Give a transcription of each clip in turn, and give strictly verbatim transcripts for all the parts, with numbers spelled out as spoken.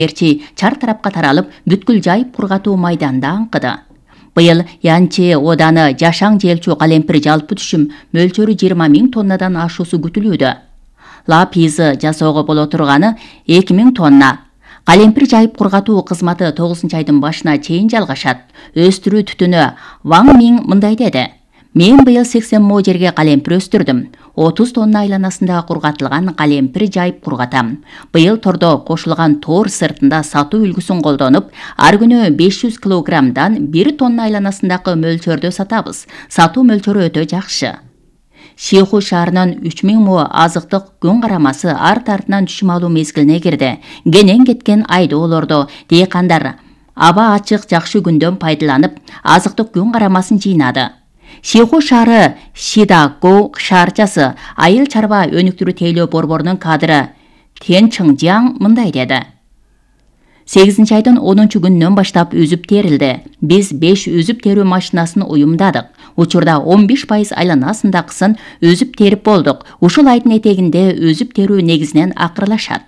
Эрчи чар тарапка таралып, бүткүл жайып кургатуу майданында аңкыды. Быйыл Янчи ооданы жашаң желчу калемпир жалпы түшүм мөлчөрү жыйырма миң тоннадан ашуусу күтүлүүдө. Лапизы жасоого боло турганы эки миң тонна. Калемпир жайып кургатуу кызматы тогузунчу айдын башына чейин жалгашат. Өстүрүү түтүнү Ваң Миң мындай деди: Мен быйыл сексен мо жерге калемпир өстүрдүм. отуз тонна айланасында кургатылган калемпир жайып кургатам. Быйыл тордо кошулган тоор сыртында сатуу үлгүсүн колдонуп, ар күнү беш жүз килограммдан бир тонна айланасындагы мөлчөрдө сатабыз. Сатуу мөлчөрү өтө жакшы. Шиху шаарынын үч миң мо азыктык күн карамасы арт артынан түшүм алуу мезгилине кирди. Кенен кеткен айдоолордо дыйкандар аба ачык жакшы күндөн пайдаланып, азыктык күн карамасын жыйнады. Шиху шаары Шидаку шаарчасы айыл чарба өнүктүрүү тейлөө борборунун кадры Тен Чыңжаң мындай деди: сегизинчи айдын онунчу күнүнөн баштап үзүп терилди. Биз беш үзүп терүү машинасын уюмдадык. Учурда он беш пайыз айланасындагысын өзүп терип болдук. Ушул айдын этегинде өзүп терүү негизинен акырлашат.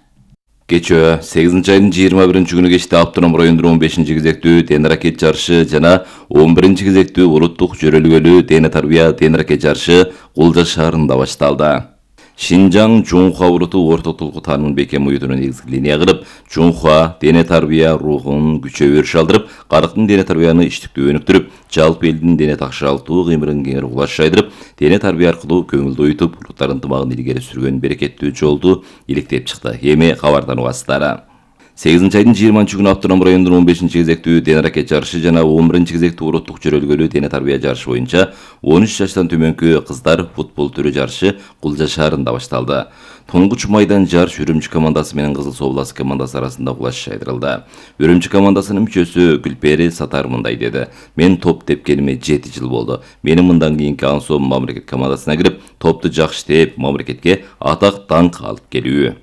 Кечөө сегизинчи айдын жыйырма биринчи күнү кечте Автоном районунун он бешинчи кезектүү дене ракет жарышы жана он биринчи кезектүү улуттук жөрөлгөлүү дене тарбия дене ракет жарышы Кулжа шаарында башталды. Шинжаң Жунхуа уруту орто толку таанымын бекем уютуна негизги линия кылып, Жунхуа дене тарбия рухун күчөп өрүш алдырып, карыктын дене тарбияны иштиктүү өнүктүрүп, жалпы элдин дене такшалтуу кыймылын кеңири кулаш жайдырып, дене тарбия аркылуу көңүлдү оютуп, улуттар ынтымагын илгери сүргөн берекеттүү жолду иликтеп чыкты. Эми кабардан угасыздар. сегизинчи айдын жыйырманчы күнү Автоном районунун он бешинчи кезектүү дене ракет жарышы жана он биринчи кезектүү улуттук жөрөлгөлүү дене тарбия жарышы боюнча он үч жаштан төмөнкү кыздар футбол түрү жарышы Кулжа шаарында башталды. Туңгуч майдан жарыш Үрүмчү командасы менен Кызыл Соблас командасы арасында кулаш жайдырылды. Үрүмчү командасынын мүчөсү Гүлпери Сатар мындай деди: Мен топ тепкениме жети жыл болду. Менин мындан кийинки аңсоом мамлекет командасына кирип, топту жакшы теп, мамлекетке атак даңк алып келүү.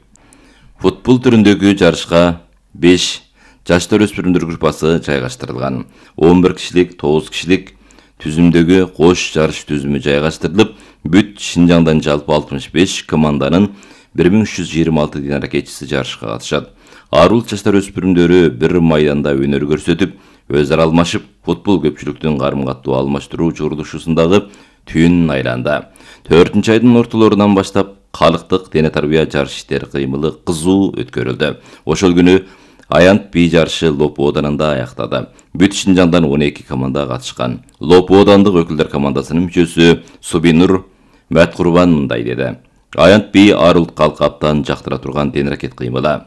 Футбол түрүндөгү жарышка беш жаштар өспүрүмдөр группасы жайгаштырылган. он бир кишилик, тогуз кишилик түзүмдөгү кош жарыш түзүмү жайгаштырылып, бүт Шинжаңдан жалпы алтымыш беш команданын бир миң үч жүз жыйырма алты дене ракетчиси жарышка катышат. Арул жаштар өспүрүмдөрү бир майданда өнөр көрсөтүп, өз ара алмашып, футбол көпчүлүктүн карым-каттуу алмаштыруу журдушусундагы түйүнүн айланды. төртүнчү айдын ортолорунан баштап калктык дене тарбия жарыш иштери кыймылы кызуу өткөрүлдү. Ошол күнү Аянт би жарышы Лопу оданында аяктады. Бүт Шинжаңдан он эки команда катышкан. Лопу одандык өкүлдөр командасынын мүчөсү Субинур Мәткурбан мындай деди: Аянт би арул калкаптан жактыра турган дене ракет кыймылы.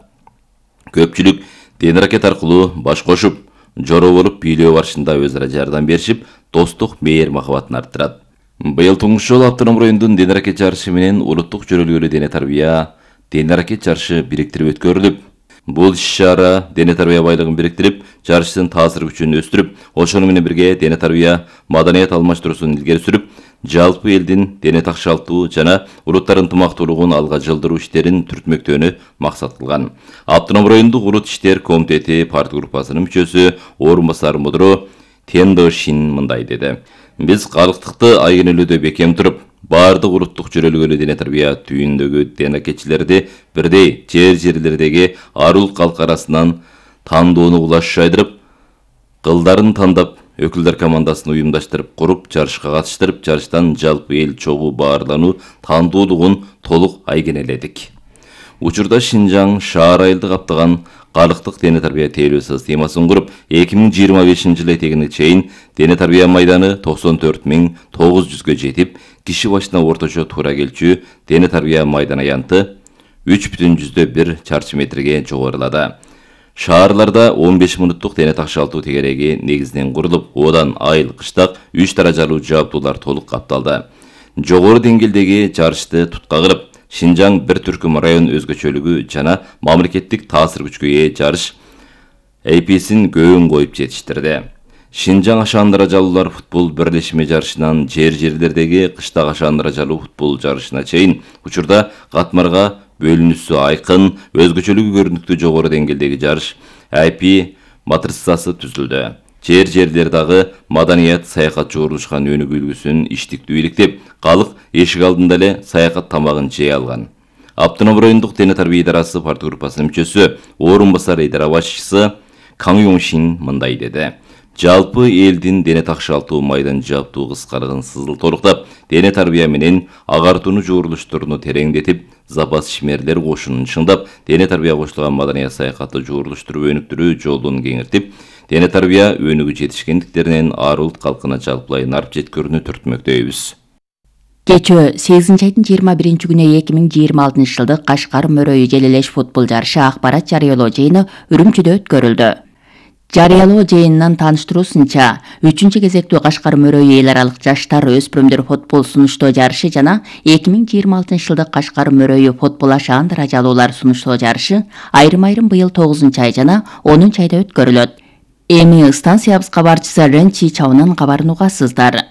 Көпчүлүк дене ракет аркылуу баш кошуп, жоро болуп бийлөө барышында өз ара жардам беришип, достук мейир махабатын арттырат. Быйыл туңгуч жолу Автоном районунун дене ракет жарышы менен улуттук жөрөлгөлүү дене тарбия дене ракет жарышы бириктирип өткөрүлүп, бул иш-чара дене тарбия байлыгын бириктирип, жарыштын таасир күчүн өстүрүп, ошону менен бирге дене тарбия маданият алмаштыруусун илгери сүрүп, жалпы элдин дене такшалтуу жана улуттар ынтымактуулугун алга жылдыруу иштерин түртмөктөөнү максат кылган. Автоном райондук улут иштер комитети парт группасынын мүчөсү орун басар мудро Тендо Шин мындай деди: Биз калктыкты айгинелөөдө бекем туруп, баардык улуттук жөрөлгөлүү дене тарбия түйүндөгү дене ракетчилерди бирдей жер жерлердеги арул калк арасынан тандоону кулаш жайдырып, кылдарын тандап, өкүлдөр командасын уюмдаштырып куруп, жарышка катыштырып, жарыштан жалпы эл чогуу баарлануу тандоолугун толук айгинеледик. Учурда Шинжаң шаар айылды каптаган калктык дене тарбия тейлөө системасын куруп, эки миң жыйырма бешинчи жылы этегине чейин дене тарбия майданы токсон төрт миң тогуз жүзгө жетип, киши башына орточо туура келчү дене тарбия майдан аянты үч бүтүн жүздө бир чарчы метрге жогорулады. Шаарларда он беш мүнөттүк дене такшалтуу тегереги негизинен курулуп, одан айыл, кыштак үч даражалуу жабдуулар толук капталды. Жогору деңгээлдеги жарышты тутка кылып, Шинжаң бир түркүм район өзгөчөлүгү жана мамлекеттик таасир күчкө ээ жарыш эйписин көбүн коюп жетиштирди. Шинжаң ашаан даражалуулар футбол бирлешме жарышынан жер жерлердеги кыштак ашаан даражалуу футбол жарышына чейин учурда катмарга бөлүнүүсү айкын, өзгөчөлүгү көрүнүктүү жогору деңгээлдеги жарыш эй пи матрицасы түзүлдү. Жер жерлер дагы маданият саякат жогорулушкан өнүгүү үлгүсүн иштиктүү иликтеп, калк эшик алдында эле саякат тамагын жей алган. Автоном райондук дене тарбия идарасы партия группасынын мүчөсү, орун басар идара башчысы Каң Юңшин мындай деди. Жалпы элдин дене такшалтуу майдан жаптуу кыскарган сызыл торуктап, дене тарбия менен агартууну жуурулуштуруну тереңдетип, запас ишмерлер кошунун чыңдап, дене тарбия кошулган маданият саякатты жуурулуштуруп өнүктүрүү жолун кеңиртип, дене тарбия өнүгүү жетишкендиктеринен ар улут калкына жалпылай нарп жеткөрүүнү түртмөктөйбүз. Кечөө сегизинчи айдын жыйырма биринчи күнү эки миң жыйырма алтынчы жылдык Кашкар Мөрөйү Желелеш футбол жарышы акпарат жарыялоо жыйыны Үрүмчүдө өткөрүлдү. Жарыялоо жыйынынан тааныштыруусунча, үчүнчү кезектүү Кашкар Мөрөйү эл аралык жаштар өспүрүмдөр футбол сунуштоо жарышы жана эки миң жыйырма алтынчы жылдык Кашкар Мөрөйү футбол ашаан даражалуулар сунуштоо жарышы айрым-айрым быйыл тогузунчу ай жана онунчу айда өткөрүлөт. Эми станциябыз кабарчысы Ренчи Чаунан кабарын угасыздар.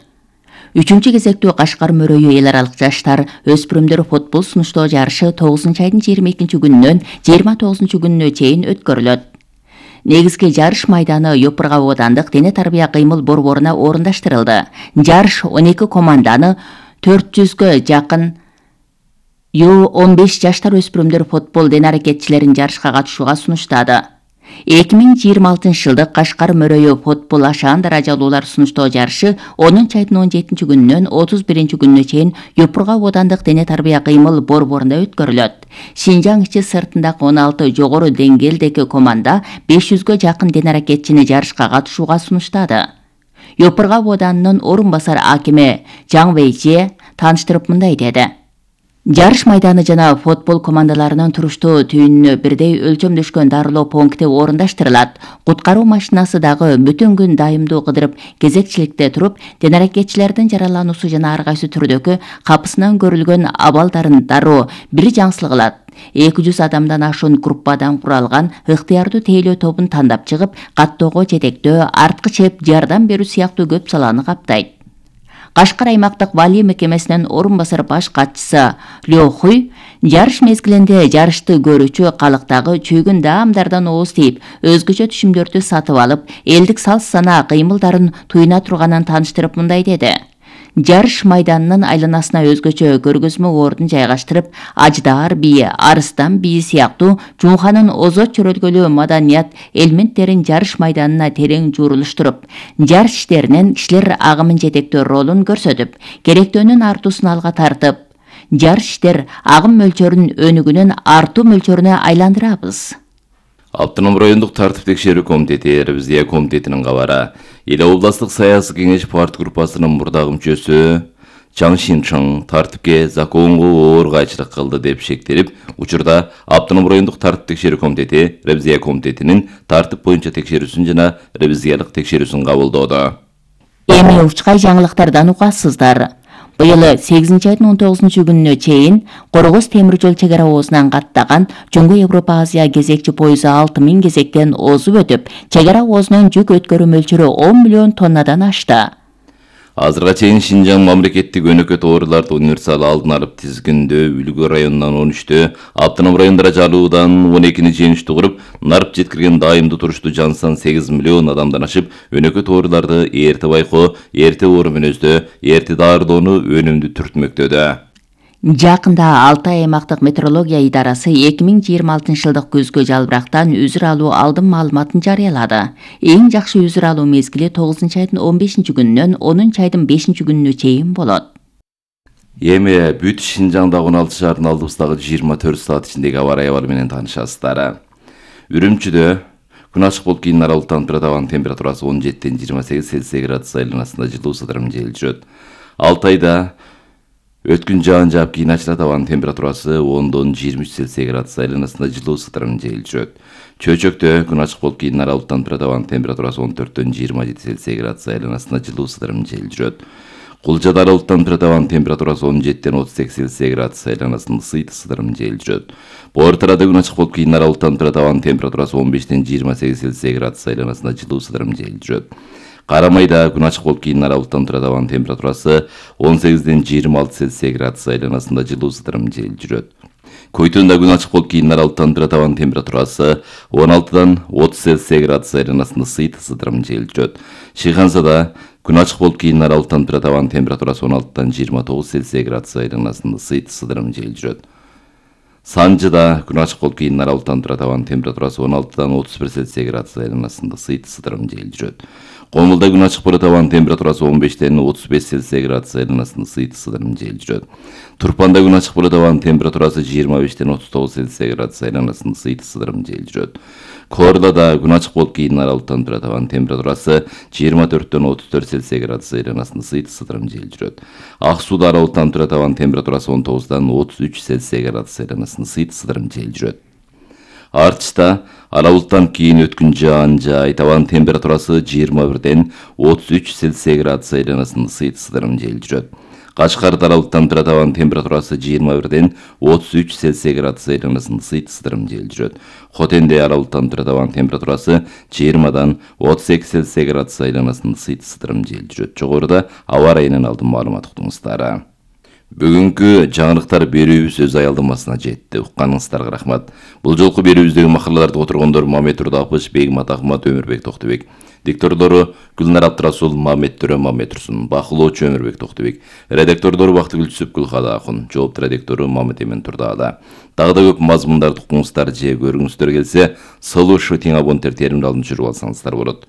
Үчүнчү кезектүү Кашкар Мөрөйү эл аралык жаштар өспүрүмдөр футбол сунуштоо жарышы тогузунчу айдын жыйырма экинчи күнүнөн жыйырма тогузунчу күнүнө чейин өткөрүлөт. Негизги жарыш майданы Ёпырга оодандык дене тарбия кыймыл борборуна орундаштырылды. Жарыш он эки команданы төрт жүзгө жакын ю он беш жаштар өспүрүмдөр футбол дене аракетчилерин жарышка катышууга сунуштады. эки миң жыйырма алтынчы жылдык Кашкар Мөрөйү футбол ашаан даражалуулар сунуштоо жарышы онунчу айдын он жетинчи күнүнөн отуз биринчи күнүнө чейин Ёпырга оодандык дене тарбия кыймыл борборунда өткөрүлөт. Шинжаң ичи сыртындагы он алты жогору деңгээлдеги команда беш жүзгө жакын дене аракетчини жарышка катышууга сунуштады. Ёпырга оодандын орун басар акими Жаң Вэйже тааныштырып мындай деди. Жарыш майданы жана футбол командаларынын туруштуу түйүнүнө бирдей өлчөмдөшкөн дарылоо пункти орундаштырылат. Куткаруу машинасы дагы бүтүн күн дайымдуу кыдырып, кезекчиликте туруп, дене аракетчилердин жаралануусу жана ар кайсы түрдөгү капысынан көрүлгөн абалдарын дароо бир жаңсыл кылат. эки жүз адамдан ашуун группадан куралган ыктыярдуу тейлөө тобун тандап чыгып, каттоого жетектөө, арткы чеп, жардам берүү сыяктуу көп саланы каптайт. Кашкар аймактык Вали мекемесинин орун басар баш катчысы Лё Хуй жарыш мезгилинде жарышты көрүүчү калыктагы чүйгүн даамдардан ооз тийип, өзгөчө түшүмдөрдү сатып алып, элдик салс сана кыймылдарын туйуна турганын тааныштырып мындай деди. Жарыш майданынын айланасына өзгөчө көргөзмө ордун жайгаштырып, Аждаар бийи, Арыстан бийи сыяктуу Жунханын озот чөрөлгөлүү маданият элементтерин жарыш майданына терең жуурулуштуруп, жарыш иштеринен кишилер агымын жетектөө ролун көрсөтүп, керектөөнүн артуусун алга тартып, жарыш иштер агым мөлчөрүн өнүгүүнүн артуу мөлчөрүнө айландырабыз. Автоном райондук тартип текшерүү комитети Ревизия комитетинин кабары Эл областык саясий кеңеш партия группасынын мурдагы мүчөсү Чаң Шинчоң тартипке законго оор кайчылык кылды деп шектелип, учурда Автоном райондук тартип текшерүү комитети Ревизия комитетинин тартип боюнча текшерүүсүн жана ревизиялык текшерүүсүн кабылдоодо. Эми учкай жаңылыктардан угасыздар. Быйыл сегизинчи айдын он тогузунчу күнүнө чейин Коргоз темир жол чек ара оозунан каттаган Жөнгө Европа Азия кезекчи пойызы алты миң кезектен озуп өтүп, чек ара оозунун жүк өткөрүү мөлчөрү он миллион тоннадан ашты. Азырга чейин Шинжаң мамлекеттик өнөкөт ооруларды универсал алдын алып тизгиндөө Үлгү районунан он үчтө, Автоном райондора жалуудан он экини жыйынтыктуу куруп, нарп жеткирген дайымдуу туруштуу жан сан сегиз миллион адамдан ашып, өнөкөт ооруларды эрте байкоо, эрте оору-мүнөздөө, эрте даарылоону өнүмдүү түртмөктөдө. Жакында Алтай аймактык метеорология идарасы эки миң жыйырма алтынчы жылдык күзгө жалбырактан үзүр алуу алдын маалыматын жарыялады. Эң жакшы үзүр алуу мезгили тогузунчу айдын он бешинчи күнүнөн онунчу айдын бешинчи күнүнө чейин болот. Эми бүт Шинжаңдагы он алты шаардын алдыбыздагы жыйырма төрт саат ичиндеги аба ырайы абалы менен таанышасыздар. Үрүмчүдө күн ачык болуп кийин аралыктан абанын температурасы он жетиден жыйырма сегиз Цельсий градус айланасында жылуу сыдырым жел жүрөт. Алтайда өткүн жаан жаап кийин ачылат, абанын температурасы ондон жыйырма үч Цельсий градус айланасында жылуу сыдырым жел жүрөт. Чөйчөктө күн ачык болуп кийин аралыктан абанын температурасы он төрттөн жыйырма жети Цельсий градус айланасында жылуу сыдырым жел жүрөт. Кулжада аралыктан абанын температурасы он жетиден отуз сегиз Цельсий градус айланасында сыйты сыдырым жел жүрөт. Бортарада күн ачык болуп кийин аралыктан абанын температурасы он бештен жыйырма сегиз Цельсий градус айланасында жылуу сыдырым жел жүрөт. Карамайда күн ачык болуп кийин аралыктан абанын температурасы он сегизден жыйырма алты Цельсий градус айланасында жылуу сыдырым жел жүрөт. Көйтөндө күн ачык болуп кийин аралыктан абанын температурасы он алтыдан отуз Цельсий градус айланасында сыйты сыдырым жел жүрөт. Шыйхансада күн ачык болуп кийин аралыктан абанын температурасы он алтыдан жыйырма тогуз Цельсий градус айланасында сыйты сыдырым жел жүрөт. Санжыда күн ачык болуп кийин ара булуттан турат. Абанын температурасы он алтыдан отуз бир Цельсий градус айланасында сыйт сыдырым жел жүрөт. Комулда күн ачык болот. Абанын температурасы он бештен отуз беш Цельсий градус айланасында сыйт сыдырым жел жүрөт. Турпанда күн ачык болот. Абанын температурасы жыйырма бештен отуз тогуз Цельсий градус айланасында сыйт сыдырым жел жүрөт. Корлада күн ачык болуп кийин ара булуттан турат. Абанын температурасы жыйырма төрттөн отуз төрт Цельсий градус айланасында сыйт сыдырым жел жүрөт. Ак сууда ара булуттан турат. Абанын температурасы он тогуздан отуз үч Цельсий градус айланасында сыйт сыдырым жел жүрөт. Артышта ара булуттан кийин өткүн жаан жай, абанын температурасы жыйырма бирден отуз үч Цельсий градус айланасында сыйт сыдырым жел жүрөт. Кашкарда ара булуттан турат. Абанын температурасы жыйырма бирден отуз үч Цельсий градус айланасында сыйт сыдырым жел жүрөт. Хотенде ара булуттан турат. Абанын температурасы жыйырмадан отуз эки Цельсий градус айланасында сыйт сыдырым жел жүрөт. Жогоруда аба ырайынан алдын маалымат уктуңуздар. Бүгүнкү жаңылыктар берүүбүз өз аялдамасына жетти. Укканыңыздарга рахмат. Бул жолку берүүбүздөгү макалаларды отургондор Мамет Турдапыш, Бегмат Ахмат, Өмүрбек Токтобек. Диктордору Гүлнар Абдрасул, Мамет Төрө, Мамет Турсун. Бакылоочу Өмүрбек Токтобек. Редактордору Бактыгүл Түсүп, Гүлхада Акун. Жоопту редактору Мамет Эмен Турдаада. Дагы да көп мазмундарды укуңуздар же көргүңүздөр келсе, Слушай тең абоненттер теримди алдын жүрүп алсаңыздар болот.